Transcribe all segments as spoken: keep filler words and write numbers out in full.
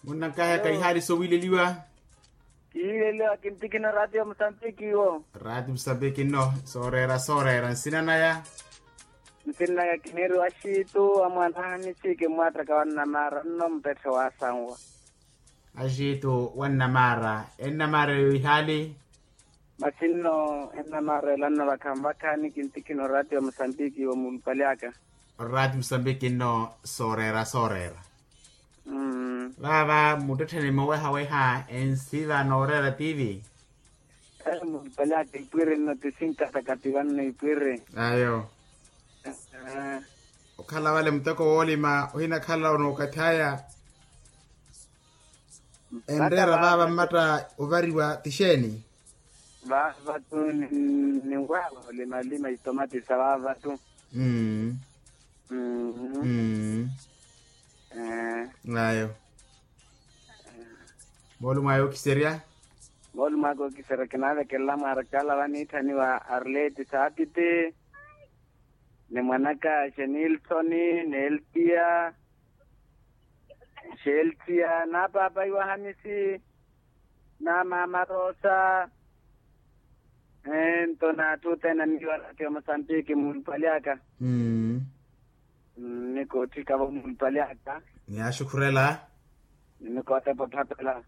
Munnankaheka ihaali sowiileliwa. Kihiileliwa kintikina raatiyo musambiki iwo. Raatiyo musambiki nno sooreera sooreera nsina naya. Nsina naya kiniiriwa axiitu amwaana ahamisi kimmwaattaka wannamaara nno mpetthe waasanwa. Axiitu wannamaara ennamaara eyo ihaali. Masi nno ennamaara ela nno vakhanvakhani kintikina oraatiyo musambiki iwo mulupali aka. Oraatiyo musambiki nno sooreera sooreera. Vaava muttettheni mowehaweha ensiva nooreera tivi. Mulupali aka ipwiri nno ti sinkataka ti vanno ipwiri. Ayo. Okhala vale muteko woolima ohinakhala onookathi aya. Enreera vaava mmatta ovariwa ti xeeni? Vaava tu ninwaava olimalima itomati sa vaava tu. Mmm. Mmm. Ayo. Moolumo ayo okiserya. Moolumo aka okiserya kinaavekelela mwaarikala vaniitthaniwa arleti saapiti. Ni mwanaka xenilsoni n'eltia. Xeltia na paapa iwa hamisi. Na maama rosa. Ento n'atthu othene aniiwa raatiyo musambiki mulupali aka. Nnikotthikavo mulupali aka. Niyaaxukhurela. Nnikootepa otthapela.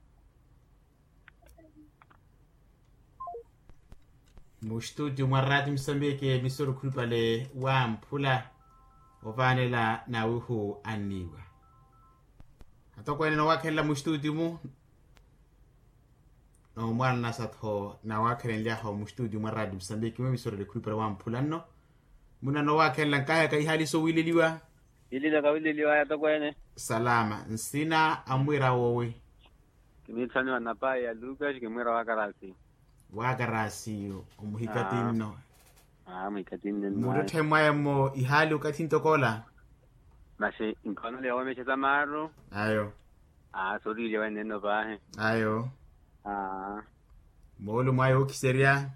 Mustutio mwa raatiyo musambiki emisoro khulupale wamphula. Ovaanela nawihu anniiwa. Atokweene noowakhelela mustutio mu. Noomwaala nasa-tho nawaakhelenlyahu mustutio mwa raatiyo musambiki mu emisoro ekhulupale wamphula nno. Muna noowakhelela nkaheka ihaali sowiileliwa. Ililo kawililiwaya tokweene. Salama nsina amwira wowi? Kiniitthaniwa napayi ya lukas kimwira wakarasi. Wakarasi. Omuhikatinno. Aa muhikatinno. Muttetthe mwaya mmo ihaali okathi ntoko ola. Masi nkhono leewomexa sa maaru. Ayo. Aa sooriilya wene enno paahi. Ayo. Aa. Moolumo aya ookiserya.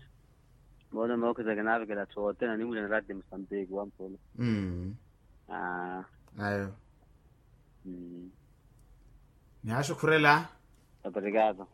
Moolumo ookiserya kinaavikela atthu othene aniiwulana raatiyo musambiki wamphula. Ayo. Nihaaxukhurela. Operikato.